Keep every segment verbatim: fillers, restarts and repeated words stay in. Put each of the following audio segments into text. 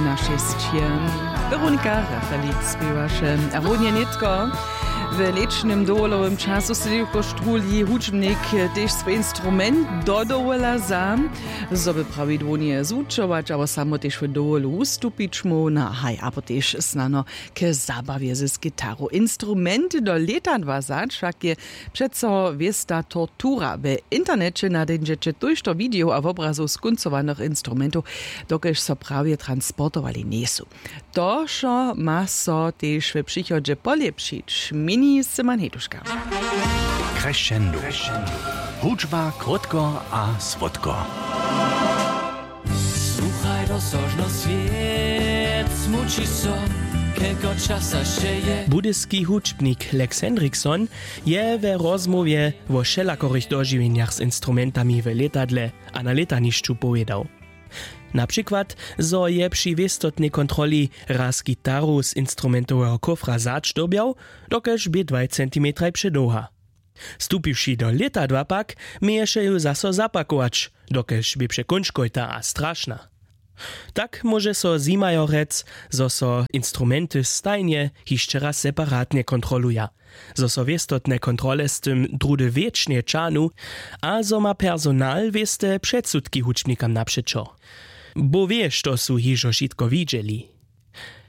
Na šesće. Weronika Rafalik spěwaše. A runje nětko w lěćnym dowolowym času sydliwko štruhli hudźbnik tež swój instrument do dowola za, zo by prawidłownje zwučować abo samo tež w dowolu wustupić móhł, na haj abo tež snano k zabawje z gitaru. Instrument do lěta dwa zač wšak je přeco wěsta tortura. W interneće nadejndźeće tójšto widejow a wobrazow skóncowanych instrumentow, dokelž so prawje transportowali njejsu. To wšo ma so tež w přichodźe polěpšić, měni Simon Heduška. Crescendo. Hudźba krótko a słodko. Słuchaj rozsožno, swiět smući so, kelko časa sće je. Budyski hudźbnik Lex Hendrickson je we rozmołwje wo wšelakorych dožiwjenjach z instrumentami w lětadle a na lětanišću powědał. Na přikład, zo je při wěstotnej kontroli raz gitaru z instrumentoweho kofra zač dyrbjał, dokelž bě dwaj centimetraj předołha. Stupiwši do lětadła pak, měješe ju zaso zapakować, dokelž bě překónčkojta a strašna. Tak móže so zjimajo rjec, zo so instrumenty stajnje hišće raz separatnje kontroluja, zo so wěstotne kontrole z tym druhdy wěčnje ćahnu a zo ma personal wěste předsudki hudźbnikam napřećo. Bóh wě, što su hižo wšitko widźeli.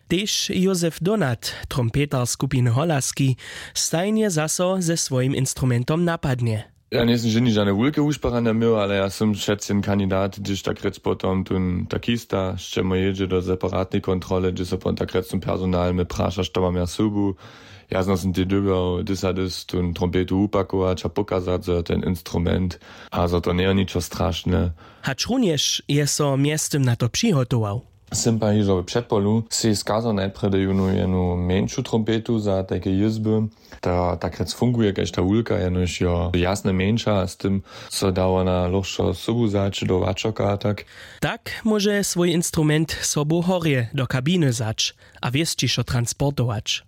Tež Józef Donat, trompetar skupiny Holaski, stajnje zaso ze swojim instrumentom napadnje. Ja njejsym ženje žane wulke wušparanja měł, ale ja sym přeci jen kandidat, hdyž tak rjec potom tón takista sćemo jědźe do separatnej kontrole, hdźe so potom tak rjec tón personal mje praša, što mam ja sobu. Ja znajsym tej dyrbjał dys a dys tón trompetu wupakować a pokazać, zo je ten instrument a zo to njejo ničo strašne. Hač runjež je so mjeztym na to přihotował. Sym pak hižo w předpolu sej skazał najprjedy jónu jenu mjeńšu trompetu za tajke jězby. Ta tak rjec funguje kaž ta wulka, jenož jo jasne mjeńša, z tym so da wona lóhšo sobu wzać do wačoka a tak. Tak móže swój instrument sobu horje do kabiny wzać a wěsćišo transportować.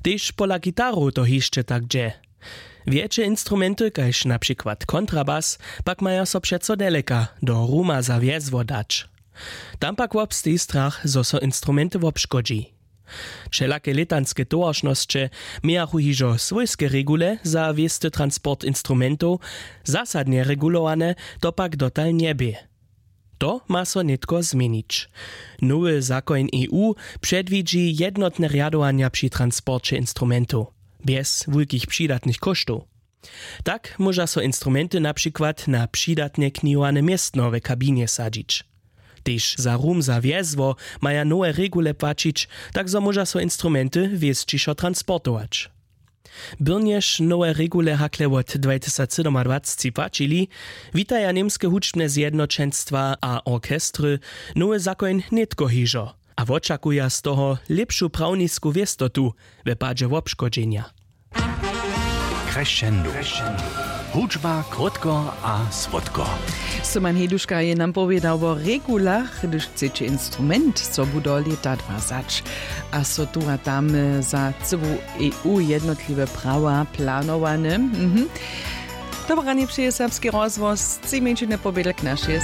Tež pola gitarow to hišće tak dźe. Wjetše instrumenty kaž na přikład kontrabas pak maja so přeco deleka do ruma za wjezło dać. Tam pak wobsteji strach, zo so instrumenty wobškodźi. Wšelake lětanske towaršnosće mějachu hižo swójske regule za wěsty transport instrumentow, zasadnje regulowane to pak dotal njebě. To ma so nětko změnić. Nowy zakoń E U předwidźi jednotne rjadowanja při transporće instrumentow bjez wulkich přidatnych kóštow. Tak móža so instrumenty na přikład na přidatnje knihowane městno w kabinje sadźić. Tež za rum za wjezło maja nowe regule płaćić, tak zo móža so instrumenty wěsćišo transportować. Byrnjež nowe regule hakle wot dwajtysacsydomadwacci płaćili, witaja němske hudźbne zjednoćenstwa a orchestry nowy zakoń nětko hižo a wočakuja z toho lěpšu prawnisku wěstotu w padźe wobškodźenja. Crescendo. Hudźba krótko a słodko. Syman Heduška je nam powědał wo regulach, hdyž chceće instrument sobu do lěta dwa wzać, a so tu a tam za cyłu E U jednotliwe prawa planowane. Mhm. Dobre ranje přeje Serbski rozhłos, tři mjeńšiny pobědl k našej.